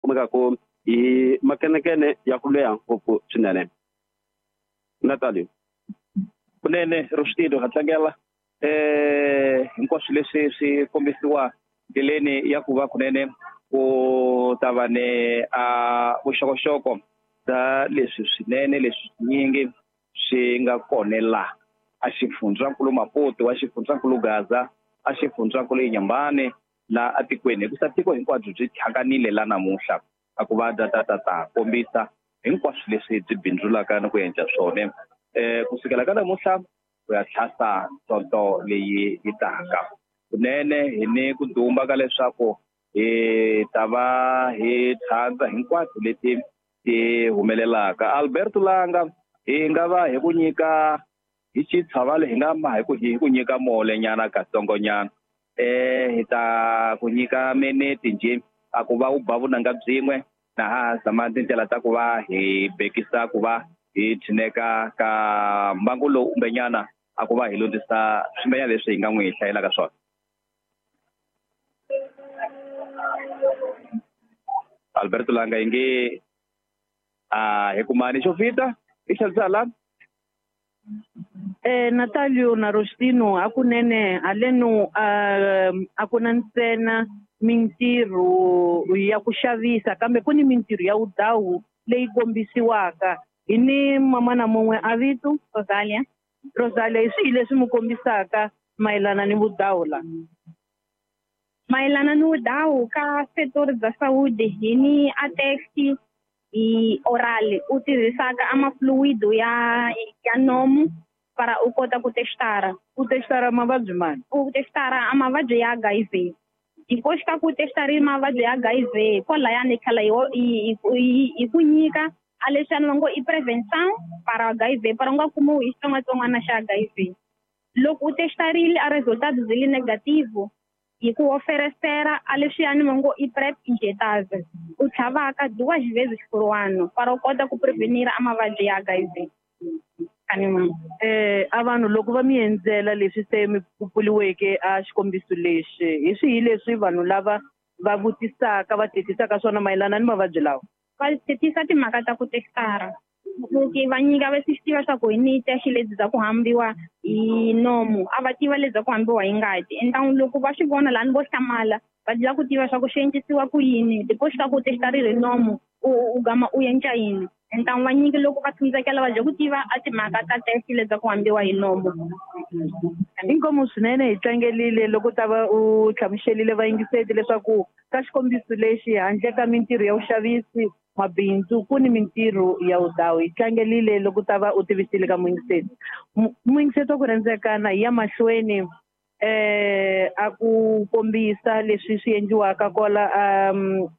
Kumekaku hi makenekene ya ku leha ngopfu swinene. Natalio. Kunene Rostino ha tlangela hinkwaswo leswi swi kombisiwa ndleleni ya ku va kunene ku ta va ni a vuxokoxoko bya leswi swinene leswi swinyingi swi nga kona la a xifundzankulu Maputo, wa xifundzankulu Gaza, a xifundzankulu Inhambane la atikweni, hikusa tiko hinkwabyo byi tlhanganile la namuntlha a ku va ta ta ta ta kombisa hinkwaswo leswi byi bindzulaka ni ku endla swona kusukela ka namuntlha ku ya tlhasa sonto leyi yi taka. Kunene hi ni ku dumba ka leswaku hi ta va hi tlhandza hinkwato leti ti humelelaka. Alberto Langa hi nga va hi ku nyika hi xitshavale, hi nga ma hi ku nyika mole nyana katsongonyana, hi ta ku nyika minete nje a ku va u ba vunanga byin'we na ha zama tindlela ta ku va hi bekisa ku va hi tshineka ka mbangu lowu kumbenyana a ku va hi lundzisa swimbenyana leswi hi nga n'wi hlayelaka swona. Alberto Langa inge a hi kumani xo fita i xavisala. Natalio na Rostino, hakunene haleno a ku na ntsena mintirho ya ku xavisa kambe ku ni mintirho ya vudawu leyi kombisiwaka. Hi ni mamana mun'we a vito Rosalia. Rosalia, hi swihi leswi mi kombisaka mayelana ni vudawu la? Mayelana ni vudawu ka setori bya Saudi hi ni a taxi hi oral u tirhisaka a mafluido ya nomu para u kota ku testara. U testara mavabyi mani? U testara a mavabyi ya HIV. Depois ka ku testari mavabyi ya HIV kwalayani tlhela hi ku nyika a leswiani va ngo i prevention para HIV para u nga kumiwi hi xitsongwatsongwana xa HIV. Loko u testarile a resultado byi li negative hi ku oferecera a leswiani va ngo i PrEP injetável u tlhavaka duas vezes por ano para u kota ku prevenir a mavabyi ya HIV. A vanhu loko va mi endzela leswi se mi pfuliweke a xikombiso lexi, hi swihi leswi vanhu lava va vutisaka va tetisaka swona mayelana ni mavabyi lawa? Va tetisa timhaka ta ku testara ku va nyika va swi tiva swa ku hi ni test leti bya ku hambiwa hi nomu, a va tiva leti bya ku hambiwa hi ngati. Entamu loko va swi vona lani vo hlamala va lava ku tiva swa ku swi endlisiwa ku yini depois ka ku testarile hi nomu u gama u endla yini. Entamu va nyiki loko va tsundzukela va dya ku tiva a timhaka ta test leti bya ku hambiwa hi nomu. Inkomu swinene hi tlangelile loko ta va u hlamuselile vayingiseti leswaku ka xikombiso lexi handle ka mintirho ya vuxavisi mabindzu ku ni mintirho ya vudawu. Hi tlangelile loko ta va u tivisile ka muyingiseti. Muyingiseti wa ku rhandzekana hi ya mahlweni a ku kombisa leswi swi endliwaka kwala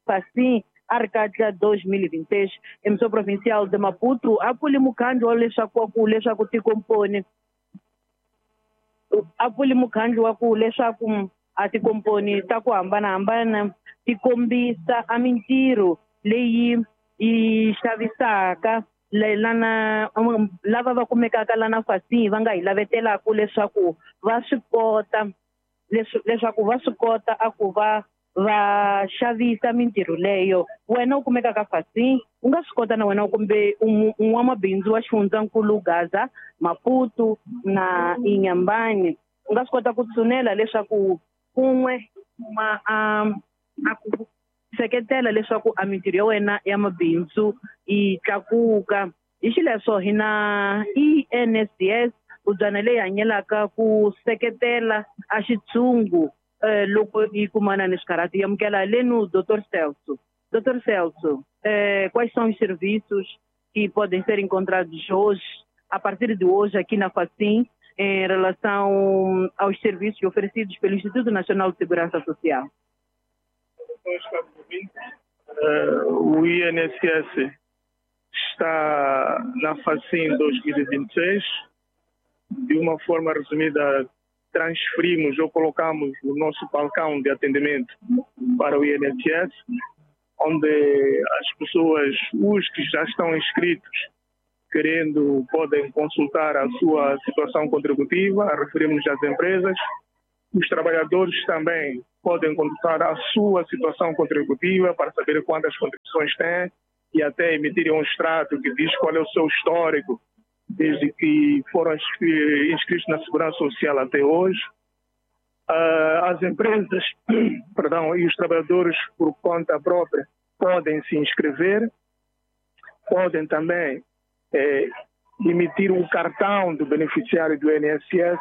Facim a ri katla 2026 emissão provincial de Maputo a pfuli mukhandlu wa leswaku tikomponi a pfuli mukhandlu wa ku leswaku a tikomponi ta ku hambanahambana ti kombisa a mintirho leyi yi xavisaka lana lava va kumekaka lana Facim va nga hi lavetelaka leswaku va swi kota leswaku va swi kota a ku va va xavisa mintirho leyo. Wena u kumekaka Facim u nga swi kota na wena kumbe n'wamabindzu wa xifundzankulu Gaza, Maputo na Inhambane u nga swi kota ku tshunela leswaku kun'we kuma a ku seketela leswaku a mintirho ya wena ya mabindzu yi tlakuka. Hi xileswo hi na INSS ubyana leyi hanyelaka ku seketela a xitshungu loko yi kumana ni swikarhati. Amukela leno Dr. Celso. Dr. Celso, quais são os serviços que podem ser encontrados hoje, a partir de hoje aqui na Facim, em relação aos serviços oferecidos pelo Instituto Nacional de Segurança Social? O INSS está na Facim 2026. De uma forma resumida, transferimos ou colocamos o nosso balcão de atendimento para o INSS, onde as pessoas, os que já estão inscritos, querendo, podem consultar a sua situação contributiva, referimos às empresas. Os trabalhadores também podem consultar a sua situação contributiva para saber quantas contribuições têm e até emitirem um extrato que diz qual é o seu histórico desde que foram inscritos na Segurança Social até hoje. As empresas, perdão, e os trabalhadores por conta própria podem se inscrever, podem também emitir um cartão do beneficiário do INSS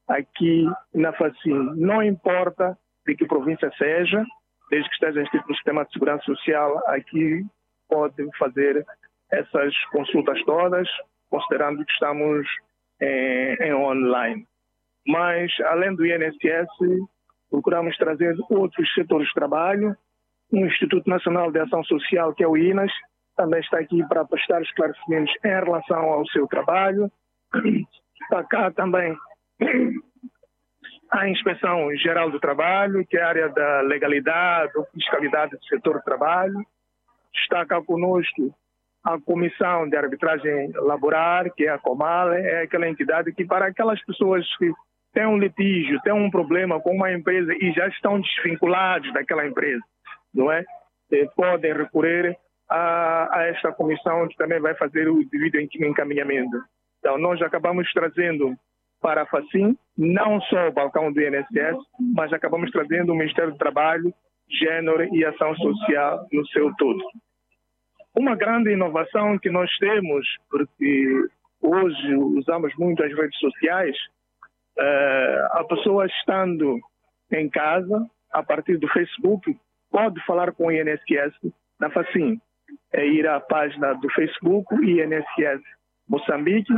aqui na Facim. Não importa de que província seja, desde que esteja inscrito no sistema de segurança social, aqui pode fazer essas consultas todas, considerando que estamos em online. Mas, além do INSS, procuramos trazer outros setores de trabalho. O Instituto Nacional de Ação Social, que é o INAS, também está aqui para prestar esclarecimentos em relação ao seu trabalho. Está cá também a Inspeção Geral do Trabalho, que é a área da legalidade ou fiscalidade do setor do trabalho. Está cá conosco a Comissão de Arbitragem Laboral, que é a COMAL, é aquela entidade que para aquelas pessoas que têm um litígio, têm um problema com uma empresa e já estão desvinculados daquela empresa, não é? Podem recorrer a esta comissão, que também vai fazer o devido encaminhamento. Então, nós acabamos trazendo para a Facim, não só o balcão do INSS, mas acabamos trazendo o Ministério do Trabalho, Gênero e Ação Social no seu todo. Uma grande inovação que nós temos, porque hoje usamos muito as redes sociais, a pessoa estando em casa, a partir do Facebook, pode falar com o INSS na Facim. É ir à página do Facebook, INSS Moçambique,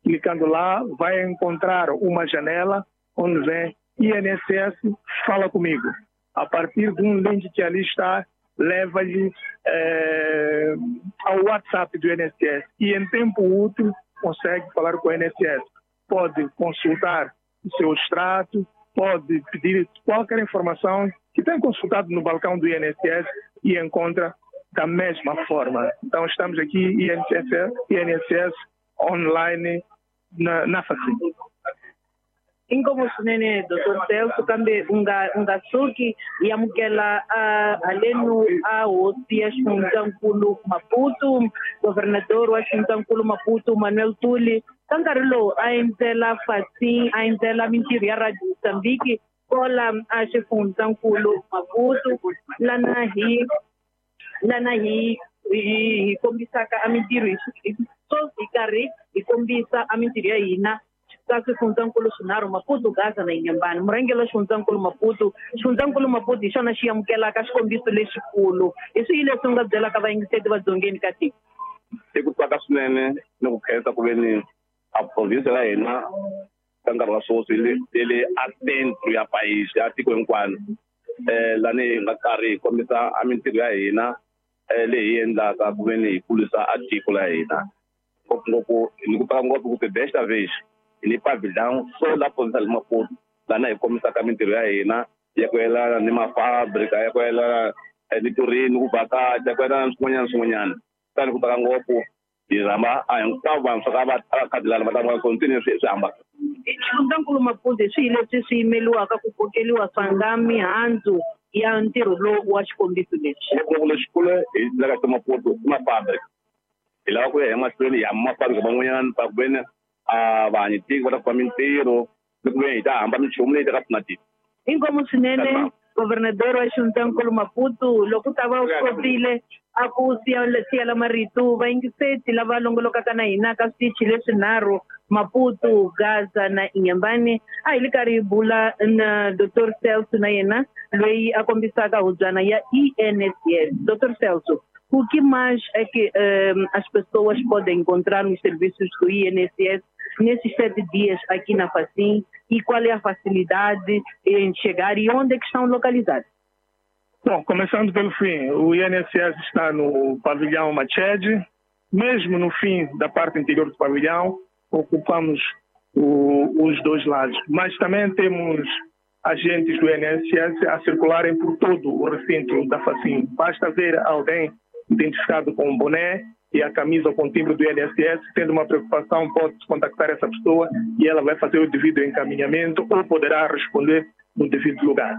clicando lá, vai encontrar uma janela onde vem INSS Fala Comigo. A partir de um link que ali está, leva-lhe ao WhatsApp do INSS e em tempo útil consegue falar com o INSS. Pode consultar o seu extrato, pode pedir qualquer informação que tem consultado no balcão do INSS e encontra da mesma forma. Então estamos aqui INSS online na Facim. Inkomo swinene Dr. Celso, kambe u nga suki hi amukela halenu a hosi ya xifundzankulu Maputo, governador wa xifundzankulu Maputo Manuel Tuli, ka nkarhi lowu a endzela Facim, a endzela mintirho ya Radio Mozambique kola a xifundzankulu Maputo, lana hi kombisaka a mintirho hi karhi hi kombisa a mintirho ya hina ka swifundzankulu swinharhu, Maputo, Gaza na Inhambane. Murhangeri wa xifundzankulu Maputo, xifundzankulu Maputo hi xona xi amukelaka xikombiso lexikulu. Hi swihi leswi u nga byelaka vayingiseti va dzongeni ka tiko? I ku tsaka swinene ni ku khensa ku ve ni a province ya hina ka nkarhi wa sweswi yi le a centro ya país ya tiko hinkwano, lani hi nga karhi hi kombisa a mintirho ya hina leyi hi endlaka ku ve ni hi kulisa a tiko la hina. Ngopfungopfu ni ku tsaka ngopfu ku ti desta vez ni pavilhão só la província de Maputo, lana hi kombisaka mintirho ya hina ya ku yelana ni mafabrika, ya ku yelana ni turini, ku vhakacha, ya ku yelana ni swin'wanyana swin'wanyana. Kutani ku tsaka ngopfu hi rhamba a hinkwavo vantshwa ka va khadilana va ta vona continue swi hambana. Xifundzankulu Maputo hi swihi leswi swi yimeliwaka ku kokeliwa swa nga mihandzu ya ntirho lowu wa xikombiso lexi? Ngopfungopfu lexikulu hi laka ka Maputo i mafabrika. Hi lava ku ya emahlweni hi hamba mafabrika van'wanyana pa ku veni a vanhu tiko va ta kuma mintirho ni ku ve hi ta hamba minchumu leyi taka pfuna tiko. Inkomu swinene governador wa xifundzankulu Maputo, loko u ta va u kotile a ku siyela marito vayingiseti lava longolokaka na hina ka switichi leswinharhu, Maputo, Gaza na Inhambane. A hi li karhi hi bula na Dr. Celso na yena loyi a kombisaka hubyana ya INSS. Dr. Celso, o que mais é que as pessoas podem encontrar nos serviços do INSS nesses 7 dias aqui na Facim, e qual é a facilidade em chegar e onde é que estão localizados? Bom, começando pelo fim, o INSS está no pavilhão Machede, mesmo no fim da parte interior do pavilhão, ocupamos os dois lados. Mas também temos agentes do INSS a circularem por todo o recinto da Facim. Basta ver alguém identificado com um boné e a camisa com o timbre do INSS, tendo uma preocupação, pode contactar essa pessoa e ela vai fazer o devido encaminhamento ou poderá responder no devido lugar.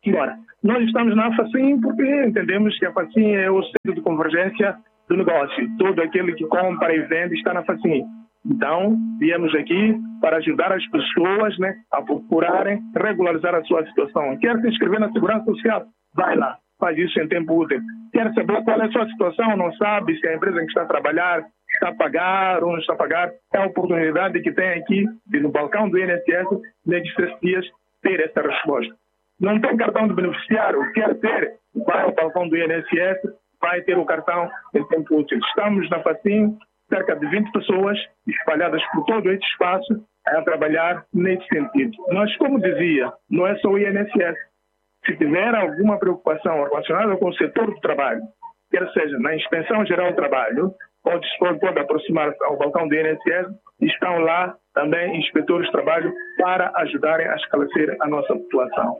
Embora, nós estamos na Facim porque entendemos que a Facim é o centro de convergência do negócio. Todo aquele que compra e vende está na Facim. Então, viemos aqui para ajudar as pessoas, né, a procurarem regularizar a sua situação. Quer se inscrever na Segurança Social? Vai lá, faz isso em tempo útil. Quer saber qual é a sua situação? Não sabe se a empresa em que está a trabalhar está a pagar ou não está a pagar? É a oportunidade que tem aqui, no balcão do INSS, nestes 3 dias, ter essa resposta. Não tem cartão de beneficiário, quer ter? Vai ao balcão do INSS, vai ter o cartão em tempo útil. Estamos na Facim, cerca de 20 pessoas espalhadas por todo este espaço a trabalhar nesse sentido. Mas, como dizia, não é só o INSS. Se tiver alguma preocupação relacionada com o setor do trabalho, quer seja na Inspeção Geral do Trabalho, pode aproximar-se ao balcão do INSS, estão lá também inspetores de trabalho para ajudarem a esclarecer a nossa população.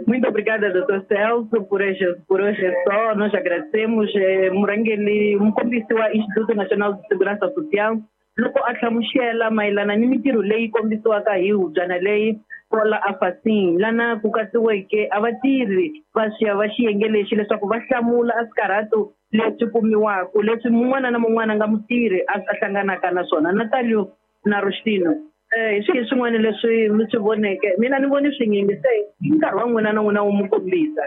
Muito obrigada, Dr. Celso, por hoje é só. Nós agradecemos. Murangeli, mukombisi wa Instituto Nacional de Segurança Social, loko a hlamusela mayelana ni mintirho leyi kombisiwaka hi hubyana leyi kwala a Facim, lana ku katsiweke a vatirhi va va xiyenge lexi leswaku va hlamula a swikarhato leswi kumiwaka leswi mun'wana na mun'wana nga mutirhi a hlanganaka na swona. Natalio na Rustino, hi swihi swin'wana leswi mi swi voneke? Mina ni voni swinyingi, se hi nkarhi wa n'wina na n'wina wu mi kombisa.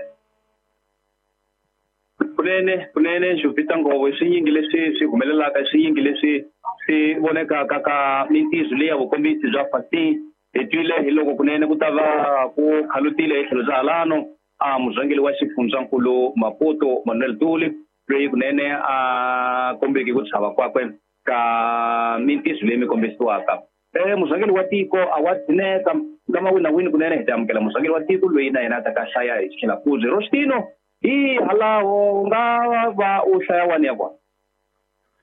Kunene Jovita Nghovo, i swinyingi leswi swi humelelaka, i swinyingi leswi swi vonekaka ka mintirho leyi ya vukombisi bya Facim. Hi twile hi loko kunene ku ta va ku khalutile hi tlhelo bya halano a murhangeri wa xifundzankulu Maputo Manuel Tuli, loyi kunene a kombeke ku chava kwakwe ka mintirho leyi mi kombisiwaka. Murhangeri wa tiko a wa dzineka kama wina wini kunene hi ta amukela murhangeri wa tiko loyi na yena a ta ka hlaya hi xilakuzi. Rostino, hi halaho u nga va u hlaya wani ya kona.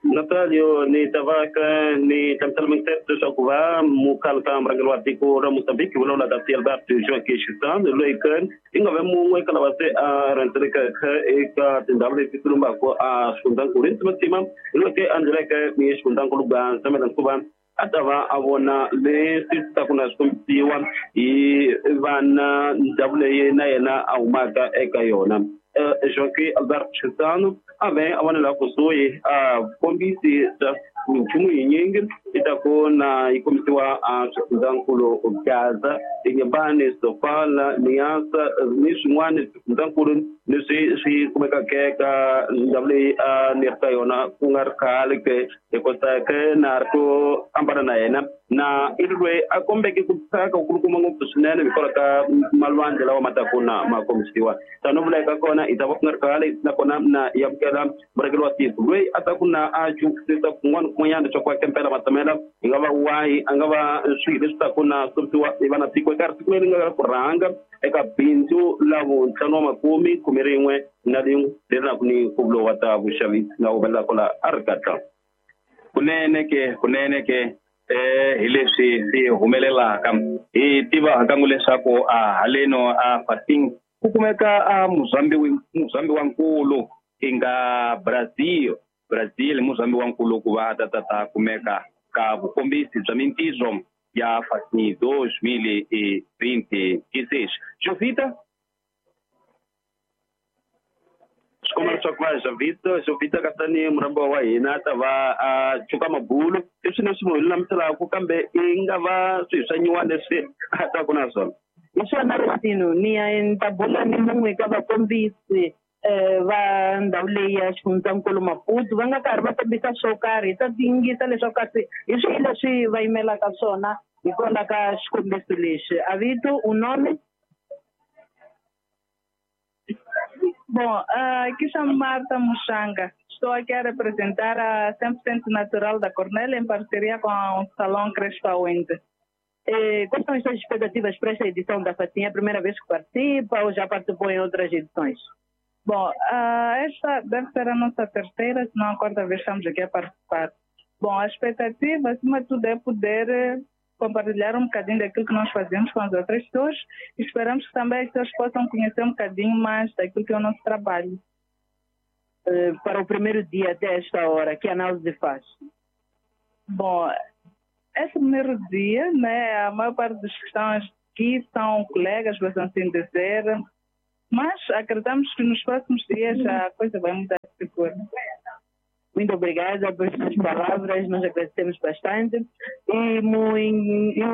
Natalio, ni tavaka ni hlamusela mingiselo leswaku va mukhale ka murhangeri wa tiko ra Mozambique vulavula Dr. Alberto Joaquim Chissano, loyi ka i nga ve mun'we eka lava se a rhendzelekeke eka tindhawu leti tilumbaka a xifundzankulu hi ntimatima, hi loyi ke a endleleke ni xifundzankulu Gaza Melankhuva a ta va a vona leswi taku na swi kombisiwa hi vana ndhawu leyi na yena a humaka eka yona. Joaquim Alberto Chissano a ve a vonela kusuhi a kombisi bya minchumu yinyingi i ta ku na yi kombisiwa a swifundzankulu Gaza, Inhambane, Sofala, Niassa ni swin'wana swifundzankulu leswi swi kumekaka eka ndhawu leyi a ni ri ka yona ku nga ri khale ke hi kota ke na ri ku ambana na yena na i ri loyi a kombeke ku tsaka kulukumba ngopfu swinene hikwalaho ka malwandle lawa ma taku na ma kombisiwa. Tano vula eka kona i ta va ku nga ri khale nakona na ya amukela murhangeri wa tiko loyi a taku na a jukisisa kun'wana kun'wanyana leswaku a kempela matamela hi nga va wahi a nga va swilo leswi taku na kombisiwa hi vana tiko eka siku leri nga ku rhanga eka bindzu la vuntlhanu wa makume khume rin'we na rin'we leri naku ni nkhuvulo wa ta vuxavisi nga humelelaka laha a ri katla. Kunene ke hi leswi swi humelelaka hi tiva hakangu leswaku a haleno a Facim ku kumeka a muzambi wa nkulu i nga Brazil muzambi wa nkulu ku va ta kumeka ka vukombisi bya mintirho ya Facim 2026. Jovita, swikomba leswaku va Jovita katani murhambiwa wa hina a ta va a cuka mabulu i swilo leswi munhu lulamiselaku kambe i nga va swilo swa nyuwana leswi a taku na swona. Hi swona Rostino, ni ya ni ta bula ni mun'we ka vakombisi va ndhawu leyi ya xifundzankulu Maputo va nga karhi va kombisa swo karhi, hi ta tingisa leswaku kasi hi swihi leswi va yimelaka swona hikwalaho ka xikombiso lexi. Avito, u nome? Bom, aqui chamo Marta Muxanga. Estou aqui a representar a 100% Natural da Cornélia em parceria com o Salão Crespa Wende. Quais são as suas expectativas para esta edição da Facim? É a primeira vez que participa ou já participou em outras edições? Bom, esta deve ser a nossa terceira, se não a quarta vez estamos aqui a participar. Bom, a expectativa, acima de tudo, é poder compartilhar um bocadinho daquilo que nós fazemos com as outras pessoas e esperamos que também as pessoas possam conhecer um bocadinho mais daquilo que é o nosso trabalho. Para o primeiro dia até esta hora, que análise faz? Bom, esse primeiro dia, né, a maior parte dos que estão aqui são colegas, por assim dizer, mas acreditamos que nos próximos dias a coisa vai mudar de figura. Muito obrigada por suas palavras, nós agradecemos bastante. E muito,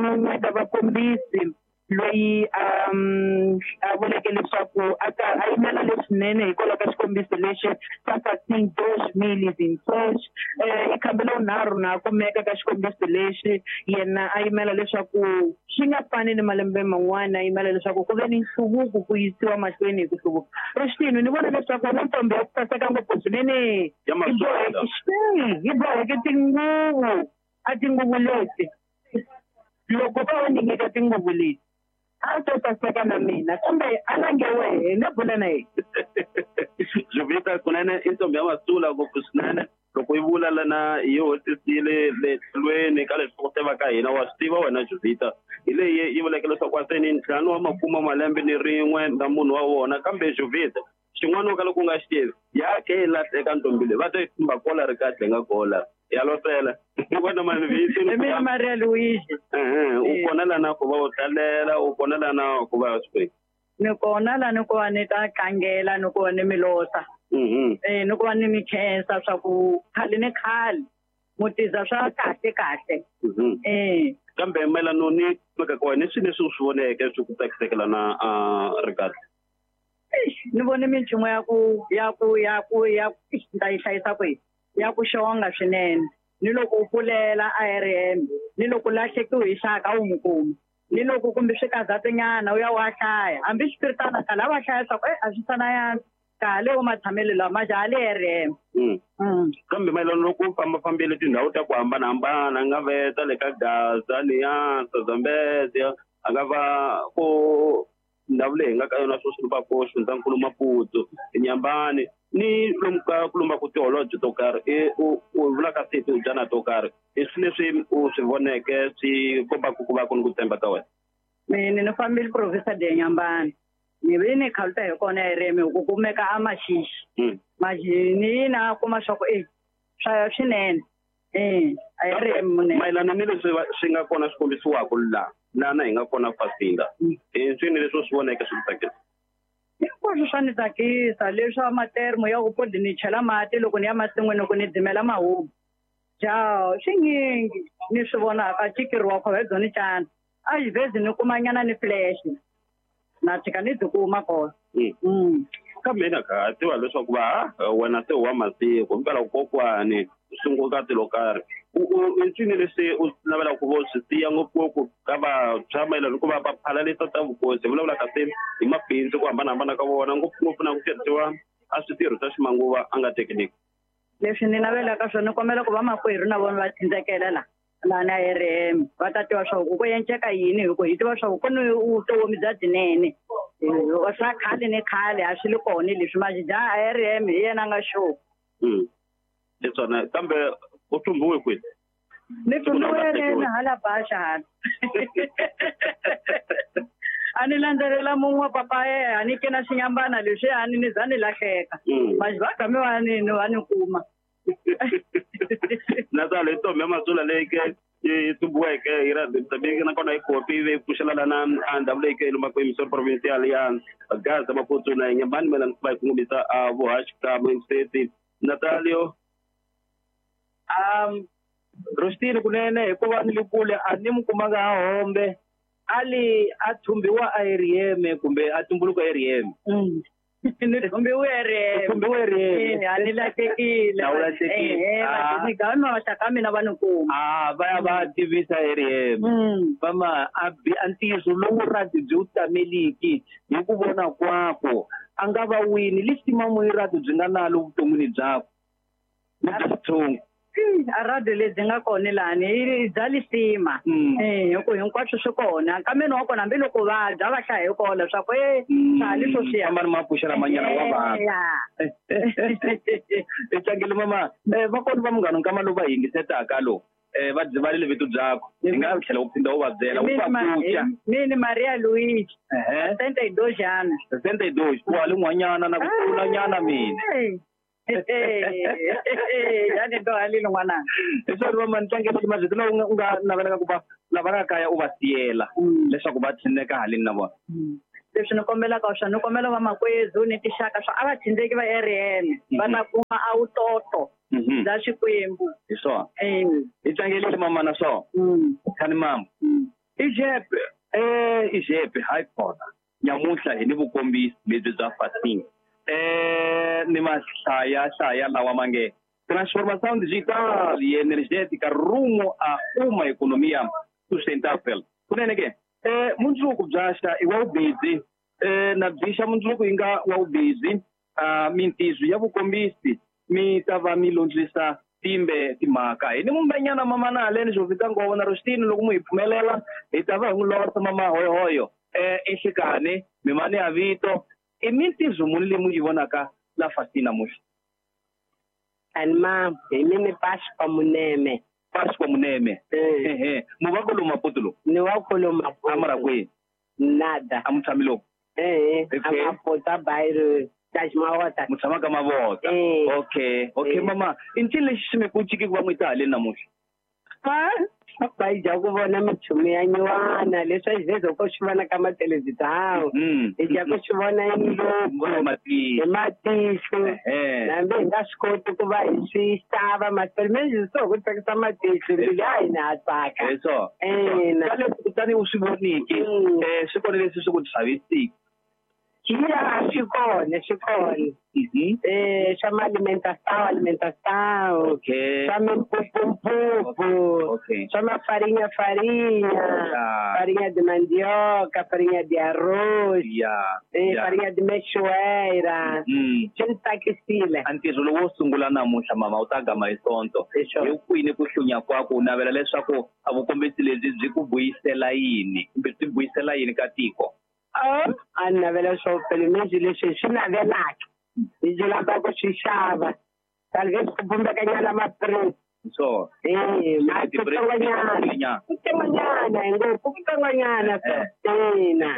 como disse, loyi a vuleke leswaku a yimela leswinene hikwalaho ka xikombiso lexi xa Fasin 2026 i khambi la vunharhu na kumeka ka xikombiso lexi yena a yimela leswaku swi nga fani ni malembe man'wana a yimela leswaku ku ve ni nhluvuko ku yisiwa mahlweni hi ku hluvuka. Rixitini ni vona leswaku na ntombi ya ku saseka ngopfu swinene yi boheke tinguvu a tinguvu leti loko va va ni nyika tinguvu leti a to saseka na mina kambe a lange wehe nga bula na yena. Jovita kunene i ntombi ya Matsula ngopfu swinene loko yi vula lana yi hotisile le tlhelweni ka leswi ku tiva ka hina wa swi tiva wena Jovita hi leyi yi vuleke leswaku aseni ntlhanu wa makume malembe ni rin'we na munhu wa wona kambe Jovita xin'wana ka loko u nga xi tivi ya ke yi lahleka ntombi leyi va ta yi thumba kola ri kahle nga kola ya losela wena mani vito ni mina Maria Luigi. U kona lana ku va u tlalela u kona lana ku va swi ni kona lana ku va ni ta tlangela ni ku va ni milosa ni ku va ni mi khensa swa ku khale ni khale mutiza swa kahle kahle. Kambe mayelana ni mhaka ka wena i swilo leswi u swi voneke swi ku tsakiseke lana ri kahle? Ni vone minchumu ya ku ya ku ya ku ya ta yi hlayisa kwihi ya ku xonga swinene ni loko u pfulela ARM ni loko lahlekiwe hi xaka u n'wi kuma ni loko kumbe swi kazatinyana u ya wa hlaya hambi swipiritana khale a va hlaya swa ku a swi sana ya khale u matshamelo lama ja le ARM. Kambe mayelana loko u fambafambile tindhawu ta ku hambanahambana a nga veta le ka Gaza liya Zambezia a nga va ko ndhawu leyi hi nga ka yona sweswi va ko Xifundzankulu Maputo Nyambani ni lomu ka ku lomba ku tiholobye to karhi u vulaka se tihubyana to karhi i swilo leswi u swi voneke swi kombaka ku va ku ni ku tshemba ka wena? Mina ni fambile province de Nyambani ni ve ni khaluta hi kona RM ku kumeka a Maxixi ni na kuma swa ku swa swinene RM munene. Mayelana ni leswi swi nga kona swi kombisiwaka laha lana hi nga kona Fasinda i swini leswi u swi voneke swi ku tsakisa? Hinkwaswo swa ni tsakisa leswa matermo ya ku podi ni chela mati loko ni ya masin'wini ku ni dzimela mahubu ja swinyingi ni swi vonaka cikeriwa khova hi byoni cana a xivhezi ni kumanyana ni flash na tshika ni byi kuma kona. Kambe na ka tiva leswaku va wena se wa masiku mpela kokwani u sungula ka tilo karhi i ncini leswi u navelaka ku vo swi siya ngopfungopfu ka vantshwa mayelana ku va va phalalisa ta vukosi vulavula kasi hi mabindzu ku hambanahambana ka vona ngopfungopfu na ku tirhisiwa a switirho swa ximanguva a nga thekiniki? Leswi ni navelaka swona ni kombela ku va makwerhu na vona va thindzekela la lana RM va ta tiva swa ku ku enceka yini hi ku hi tiva swa ku ku ni vutomi bya byinene swa khale ni khale a swi le kona leswi majija RM hi yena a nga sure. Leswona kambe u thumbiwe kwihi? Ni thumbiwe RM hala Baxa hala. A ni landzelela mun'we papa yena a ni kena xinyambana leswi a ni ni za ni lahleka maji va game va ni va ni kuma. Naswona hi ntombi ya Matsula leyi ke yi tumbiweke hi ra nakona yi kopi yi pfuxela lana a ndhawu leyi ke lombaka emisori provincial ya Gaza Maputo na Nyambani mayelana ku va yi kongomisa a vuhaxi ka State. Natalio Rostini kunene hikuva ni le kule a ni mi kumanga a hombe ali a thumbiwa a RM kumbe a tumbuluka RM. Ni thumbiwe RM. Thumbiwe RM. A ni lahlekile. A wu lahlekile. Ni gama ka mina va ni kuma. Va ya va tivisa RM. Mama a bi a ntiyiso lowu rati byi wu tameliki hi ku vona kwako a nga va wini lisima rati byi nga nalo vuton'wini byakwe ni bya xitsongo. A radio lebyi nga kona lani i bya lisima hi ku hinkwaswo swi kona kambe wa kona hambiloko va dya va hlaya hi kona swa ku swa leswo swi ya famba ni mapuxela manyana wa vanhu. I tlangele mama va kona va munghana nkama lowu va yingisetaka lo va byivalile vito byakwe hi nga tlhela u phinda u va byela u va pfuxa. Mina Maria Luigi 62 anos. 62 ku hali n'wanyana na ku tlula nyana mina. Yani to halile n'wana. Leswaku va mantlangela marito lawa u nga navelaka ku va lava nga kaya u va siyela leswaku va tshineka haleni na vona. Leswi ni kombelaka swona ni kombela vamakwezu ni tixaka swa a va thindzeki va RM va ta kuma a wutoto bya Xikwembu. Hi swona. Hi tlangelile mama na swona. Khani mama. Ijepe ijepe hayi kona. Nyamuntlha hi ni vukombisi lebyi bya fasting. Ni mahlaya hlaya lawa mange transformação digital e energética rumo a uma economia sustentável. Kunene ke mundzuku bya xa i wa vubisi na byi xa mundzuku yi nga wa vubisi mintizo ya vukombisi mi ta va mi londzisa timbe timhaka hi ni mumbenyana mama na haleni xo fika ngova na Rostini loko mu hi pfumelela hi ta va hi n'wi losa mama hoyohoyo enhlekani mimani ya vito i mintizo muni leyi mu yi vonaka la fasting namuntlha. Ani ma hi mini Pasco Muneme. Pasco Muneme. Ehe mu va kolo Maputo lo. Ni wa kolo Maputo. Amara kwihi? Nada. A mu tshami loko? Ehe. A Maputo a bairro das Mavota. Mu tshama ka Mavota. Okay. Okay mama, i ncini lexi xi mi ku ciki ku va mu yi ta haleni namuntlha? Va yi dya ku vona minchumu ya nyuwana leswi a xivheza ko swi vona ka mathelevhizhawu hi dya ku swi vona hi matihlo hambi hi nga swi koti ku va hi swi xava mathelevhizhawu swi ku tsakisa matihlo mbilu ya hina ha tsaka. Hi swona. Ka leswi kutani u swi voniki swi kona leswi swi ku chavisiki. Ya swi kona swi kona. Swa ma-alimentação okay. Swa mimpupumpupu okay. Swa mafarinha farinha farinha de mandioca, farinha de arroz farinha de mexoeira swi ni tsakisile. A ntirho lowu wo sungula namuntlha mama wu ta gama hi sonto hi kwini ku hlunya kwaku u navela leswaku a vukombisi lebyi byi ku vuyisela yini kumbe byi vuyisela yini ka tiko? A ni navela swo pele leswi leswi swi navelaka hi byi lava ku swi xava talvez ku bumbekanyana ma-print so kutsongonyana kutsongonyana ngopfu kutsongonyana ina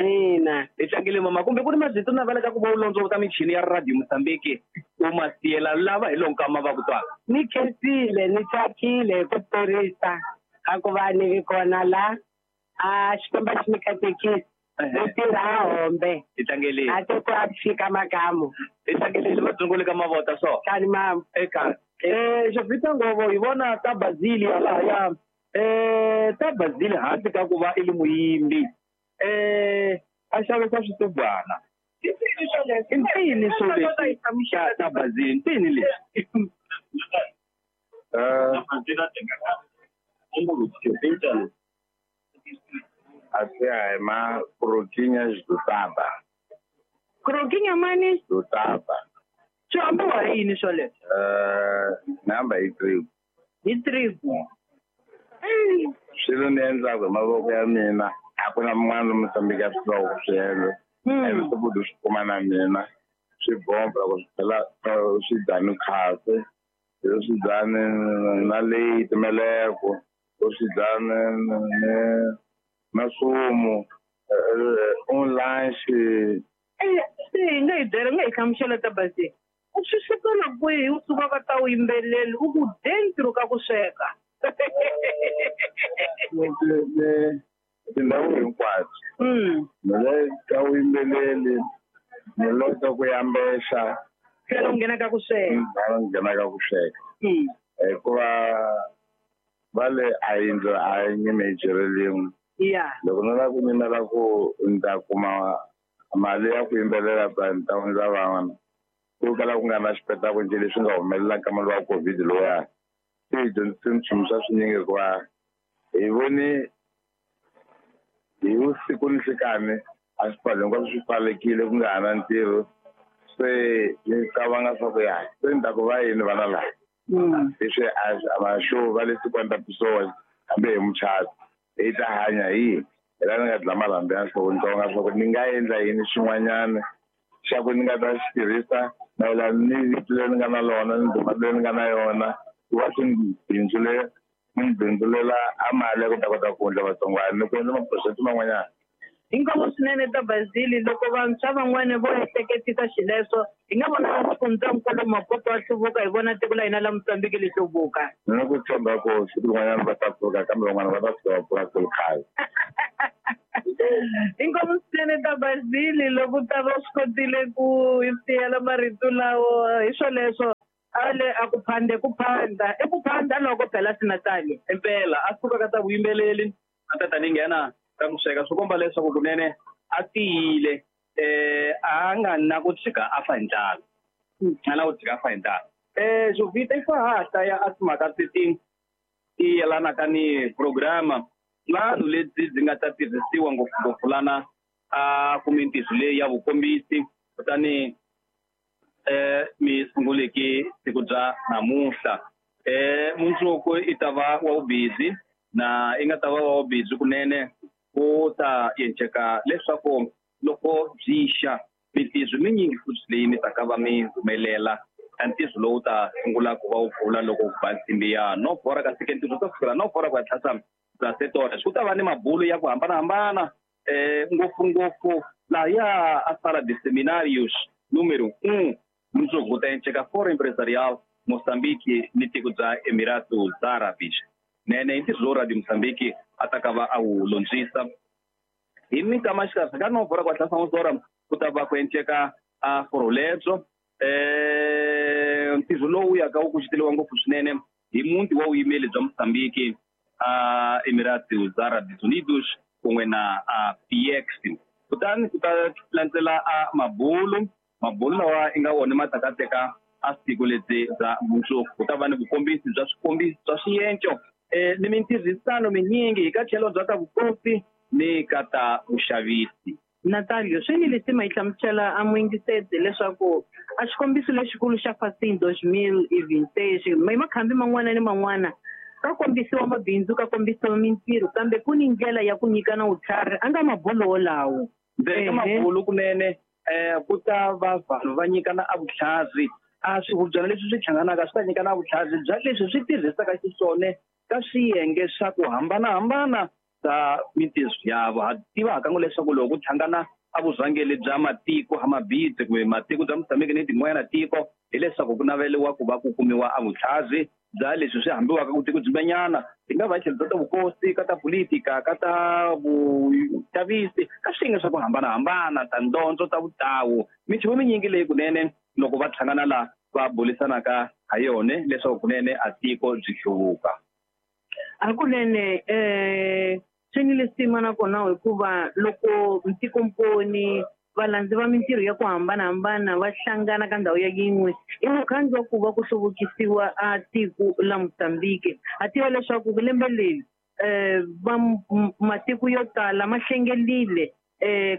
ina. Hi tlangele mama kumbe ku ri mabyi to navelaka ku va u londzovota michini ya Radio Mozambique u ma siyela lava hi lonkama va ku twaka. Ni khensile ni tsakile hi ku tirhisa a ku va ni vi kona la a Xikwembu xi mi katekisa. Ni tirha hombe. Hi tlangelile. A ti ku a fika makamu. Hi tlangelile vatsongoli ka Mavota so. Kani mama. Eka. Xofita Ngovo hi vona ta Bazili lahaya. Ta Bazili handle ka ku va i li muyimbi. A xavisa switubwana. I ncini swo leswi ta Bazili ncini leswi? Asi ma croquinhas do taba. Croquinha mani? Do taba. Swi ambiwa hi yini swoleswo? Namba hi tribu. Hi tribu. Swilo ni endlaka hi mavoko ya mina a ku na mun'wana Mozambique a swi tivaka ku swi endla. Ene swakudya swi kuma na mina swi bomba loko swi tlhela swi dya ni khafe swi dya na leyi meleko swi dya ni masumo un lanche. Se hi nga hi byela nga hi hlamusela ta Bazili. U swi sukela kwihi u suka ka ta vuyimbeleri u ku dentro ka ku sweka? Tindhawu hinkwato. Ni le ka vuyimbeleri, ni le ka ku yambexa. Tlhela u nghena ka ku sweka. Tlhela u nghena ka ku sweka. Hikuva va le a yindlu a yi nyime hi jere. Loko ni lava ku nyimela ku ni ta kuma mali ya ku yimbelela ta ni ta wundla van'wana ku kala ku nga na xipetaku njhe leswi nga humelela ka mali wa COVID lowuya swi hi dyondzise nchumu swa swinyingi hikuva hi voni hi vusiku ni nhlikani a swipfalo hinkwaswo swi pfalekile ku nga ha na ntirho se ni cabanga swa ku ya se ni ta ku va yini vana lava leswi a va xo va le 50 pessoas hambi hi muchato hi ta hanya hi hi la ni nga dla marhambu ya nhloko ni tsonga swa ku ni nga endla yini xin'wanyana xa ku ni nga ta xi tirhisa mayelana ni vito leri ni nga na lona ni ndhuma leyi ni nga na yona ku va swi ni bindzulela a mali ya ku ta kota ku wundla vatsongwana ni ku endla maphurojeke man'wanyana. Inkomu swinene ta Bazili loko vantshwa van'wana vo ehleketisa xileswo hi nga vona xifundzankulu Maputo wa hluvuka hi vona tiko la hina la Mozambique li hluvuka. Ni na ku tshemba ku siku rin'wanyana va ta pfuka kambe van'wana va ta fika va pfuka ku ri khale. Inkomu swinene ta Bazili loko u ta va u swi kotile ku hi siyela marito lawo hi swoleswo ale a ku phande ku phanda i ku phanda loko phela Sinatali. Impela a suka ka ta vuyimbeleri a ta tani nghena ka ku sweka swi komba leswaku kunene a tiyile a nga na ku tshika a fa hi ndlala a na ku tshika a fa hi ndlala. Jovita i fa ha hlaya a timhaka teti ti yelanaka ni programa vanhu lebyi byi nga ta tirhisiwa ngopfungopfu lana a kumintirho leyi ya vukombisi kutani mi sunguleke siku bya namuntlha. Mundzuku i ta va wa vubizi na i nga ta va wa vubizi kunene ku ta endleka leswaku loko byi xa mintirho minyingi futhi leyi mi taka va mi humelela ntirho lowu ta sungula ku va wu pfula loko ku ba nsimbi ya no bora kasi ke ntirho ta sukela no bora ku ya tlhasa bya setora ku ta va ni mabulo ya ku hambanahambana ngopfungopfu lahaya a sala de seminarios número 1 mundzuku ku ta endleka Foro Empresarial Mozambique ni tiko bya Emiratos Árabes nene i ntirho lowu Radio Mozambique a ta ka va a wu londzisa hi minkama xikarhi ka no bora ku hatlasa n'wozora ku ta va ku endleka a foro lebyo. Ntirho lowu yaka wu kuceteriwa ngopfu swinene hi muti wa vuyimeli bya Mozambique a Emiratos Árabes Unidos kun'we na PX kutani ku ta landzela a mabulu lawa i nga wona ma ta ka teka a siku lebyi bya mundzuku ku ta va ni vukombisi bya swikombiso bya swienco ni mintirhisano minyingi hi ka tlhelo bya ta vukosi ni ka ta vuxavisi. Natalio swi ni leswi ma yi hlamusela a muyingiseti leswaku a xikombiso lexikulu xa Facim 2026 hi makhambi man'wana ni man'wana ka kombisiwa mabindzu ka kombisiwa mintirho kambe ku ni ndlela ya ku nyikana vutlhari a nga mabulo wolawo. Ndzeni ka mabulo kunene ku ta va vanhu va nyikana a vutlhari a swihubyana leswi swi hlanganaka swi ta nyikana vutlhari bya leswi swi tirhisaka xiswona ka swiyenge swa ku hambanahambana ta mintirho ya vo. Ha tiva hakan'we leswaku loko ku hlangana a vurhangeri bya matiko ha mabindzu kumbe matiko bya Mozambique ni tin'wanyana tiko hileswaku ku naveliwa ku va ku kumiwa a vutlhari bya leswi swi hambiwaka ku tiko byimbanyana ti nga va tlhelo bya ta vukosi ka ta politika ka ta vuxavisi ka swiyenge swa ku hambanahambana ta ndondzo ta vutawu minchumu minyingi leyi kunene loko va hlangana la va bulisanaka ha yona leswaku kunene a tiko byi hluvuka. Hakunene swi ni lisima nakona hikuva loko ntikomponi valandzi va mintirho ya ku hambanahambana va hlangana ka ndhawu ya yin'we i mukhandlu wa ku va ku hluvukisiwa a tiko la Mozambique. Ha tiva leswaku lembe leri va matiko yo tala ma hlengelile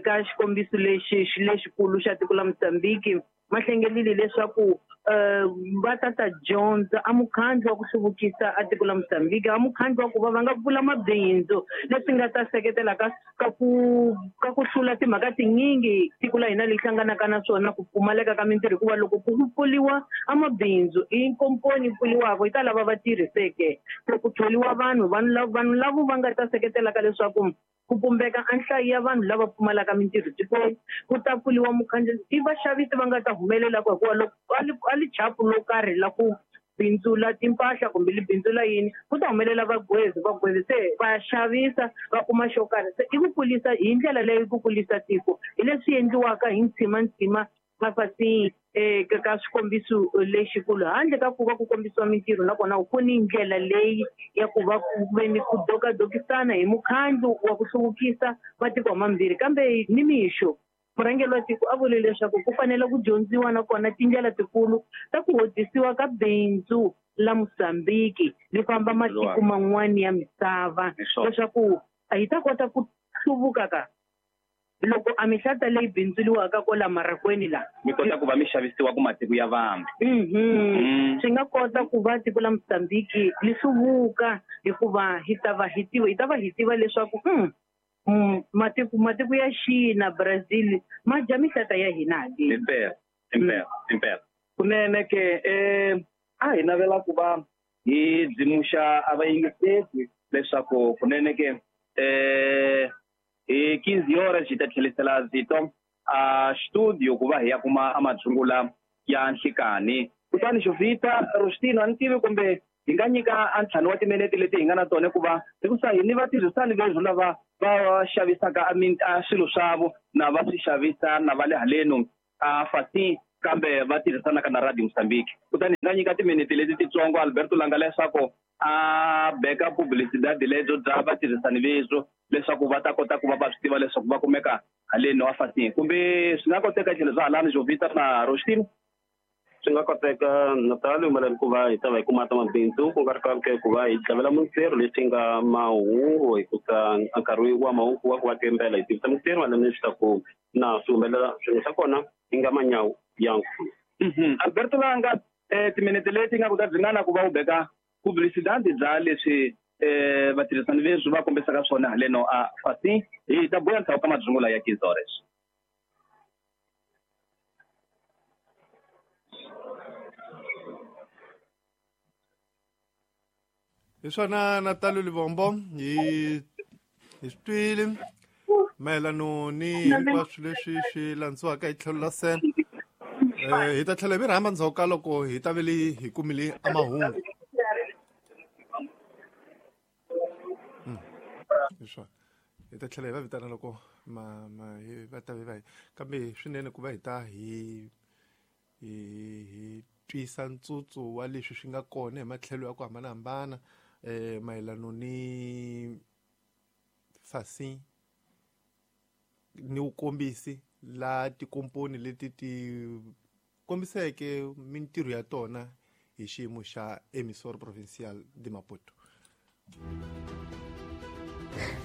ka xikombiso lexi lexikulu xa tiko la Mozambique ma hlengelile leswaku va ta ta dyondza a mukhandlu wa ku hluvukisa a tiko la Mozambique a mukhandlu wa ku va va nga pfula mabindzu leswi nga ta seketela ka ku hlula timhaka tinyingi tiko la hina leyi hlanganaka na swona ku pfumaleka ka mintirho hikuva loko ku pfuriwa a mabindzu i nkomponi pfuriwaka yi ta lava va tirhiseke ku thoriwa vanhu vanhu lavo va nga ta seketelaka leswaku ku pumbeka a nhlayo ya vanhu lava pfumalaka mintirho tikweni ku ta pfuriwa mukhandlu i vaxavisi va nga ta humelelaka hikuva loko a li chapu lo karhi la ku bindzula timpahla kumbe li bindzula yini ku ta humelela vagwezi se va xavisa va kuma xo karhi se i ku kulisa hi ndlela leyi ku kulisa tiko hi leswi endliwaka hi ntshimantsima mafasi ka swikombiso lexikulu handle ka ku va ku kombisiwa mintirho nakona ku ni ndlela leyi ya ku va ku ve ni ku dokadokisana hi mukhandlu wa ku hluvukisa matiko mambirhi kambe ni mixo murhangeri wa tiko a vule leswaku ku fanele ku dyondziwa nakona tindlela tikulu ta ku hodisiwa ka bindzu la Mozambique li famba matiko man'wani ya misava leswaku hi ta kota ku hluvuka ka loko a mihlata leyi bindzuriwaka kwala marakweni la mi kota ku va mi xavisiwa ku matiko ya vambe. Swi nga kota ku va tiko la Mozambique li hluvuka hikuva hi ta va hi tiva leswaku matiko ya China Brazil ma dya mihlata ya hina impela impela kunene ke a hi navela ku va hi dzimuxa a vayingiseti leswaku kunene ke Hi 15 horas hi ta tlhelisela zito a studio ku va hi ya kuma a madzungula ya nhlikani. Kutani Jovita Rostino a ni tivi kumbe hi nga nyika a ntlhanu wa timinete leti hi nga na tona ku va hikusa hi ni vatirhisani vezvo lava va xavisaka a swilo swavo na va swi xavisa na va le haleno a Facim kambe va tirhisanaka na Radio Mozambique. Kutani hi nga nyika timinete leti titsongo Alberto Langa leswaku a beka publicidade lebyo bya vatirhisani vezvo leswaku va ta kota ku va va swi tiva leswaku va kumeka haleni wa Facim. Kumbe swi nga koteka tlhelo swa halani Jovita na Rostino? Swi nga koteka Natal mayelana ku va hi ta va hi kuma ta mabindzu ku nga ri kahle ku va hi tlhavela mintirho leswi nga mahungu hikusa nkarhi wa mahungu wa ku va timbela hi tivisa mintirho mayelana leswaku na swi humelela swilo swa kona yi nga manyawu ya nkulu. Alberto Langa, timinete leti nga ku ta dzingana ku va u beka publicidade bya leswi vatirhisani vezwi va kombisaka swona haleno a Facim. Hi ta buya ndzhaku ka madzungula ya 15 horas. Hi swona Natal Livombo hi swi twile mayelano ni hinkwaswo leswi swi landziwaka hi tlhelo la sen. Hi ta tlhela hi mi rhamba ndzhaku ka loko hi ta vele hi kumile a mahungu. Hi swona hi ta tlhela hi va vitana loko va ta va kambe swinene ku va hi ta hi twisa ntsutsu wa leswi swi nga kona hi matlhelo ya ku hambanahambana mayelano ni Facim ni wukombisi la tikomponi leti ti kombiseke mintirho ya tona hi xiyimo xa Emissora Provincial de Maputo.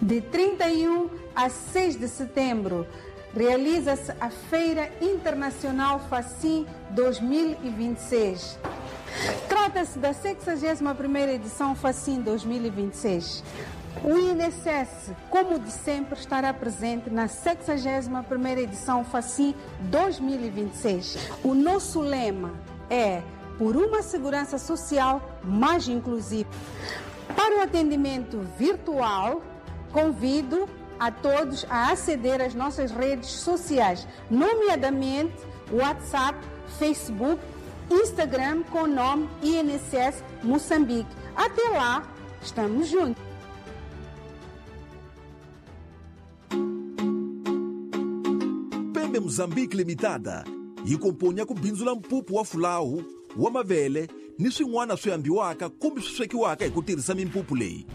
De 31 a 6 de setembro, realiza-se a Feira Internacional Facim 2026. Trata-se da 61ª edição Facim 2026. O INSS, como de sempre, estará presente na 61ª edição Facim 2026. O nosso lema é por uma segurança social mais inclusiva. Para o atendimento virtual, convido a todos a aceder às nossas redes sociais, nomeadamente WhatsApp, Facebook, Instagram com o nome INSS Moçambique. Até lá, estamos juntos. Pembe Mozambique Limitada yi komponya ku bindzula mpupu wa fulawu wa mavele ni swin'wana swi ambiwaka kumbe swi swekiwaka hi ku tirhisa mimpupu leyi.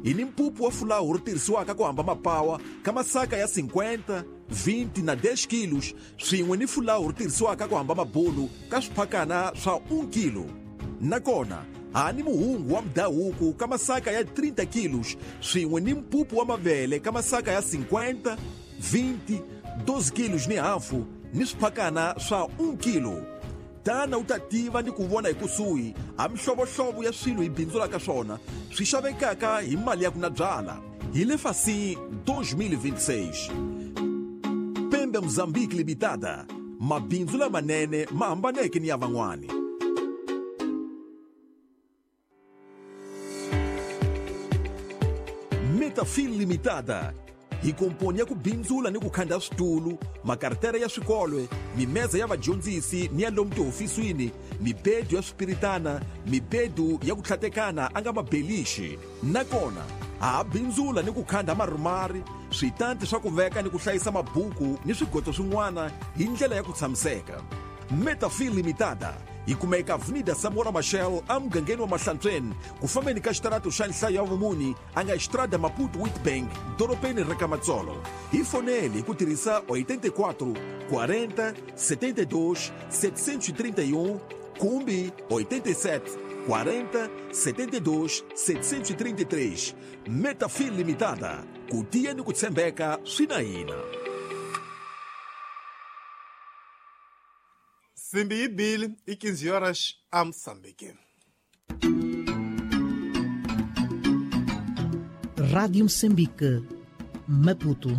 Hi ni mpupu wa fulawu ri tirhisiwaka ku hamba mapawa ka masaka ya 50, 20 na 10 kilos swin'we ni fulawu ri tirhisiwaka ku hamba mabulu ka swiphakana swa 1 kilo. Nakona ha ni muhungu wa mudhahuku ka masaka ya 30 kilos swin'we ni mpupu wa mavele ka masaka ya 50, 20, 12 kilos ni hafu ni swiphakana swa 1 kilo. Tana u ta tiva ni ku vona hi kusuhi a mihlovohlovo ya swilo hi bindzulaka swona swi xavekaka hi mali ya ku na byala. Hi le Facim 2026. Pembe Mozambique Limitada, mabindzu lamanene ma hambaneke ni ya van'wani. Metafil Limitada hi komponi ya ku bindzula ni ku khanda switulu, makartere ya swikolwe, mimeza ya vadyondzisi ni ya lomu tihofisini, mibedu ya swipiritana, mibedu ya ku tlhatekana a nga mabelixi. Nakona ha bindzula ni ku khanda marumari, switanti swa ku veka ni ku hlayisa mabuku ni swigoto swin'wana hi ndlela ya ku tshamiseka. Metafil Limitada yi kumeka Avenida Samora Machel emugangeni wa Mahlantsweni ku fambeni ka xitarato xa nhlayo ya vumuni a nga Estrada Maputo Witbank dorobeni ra ka Matsolo. Hi fonele hi ku tirhisa 84 40 72 731 kumbe 87 40 72 733. Metafil Limitada, ku tiya ni ku tshembeka swi na hina. Simbi yi bile i 15 horas a Moçambique. Rádio Moçambique, Maputo.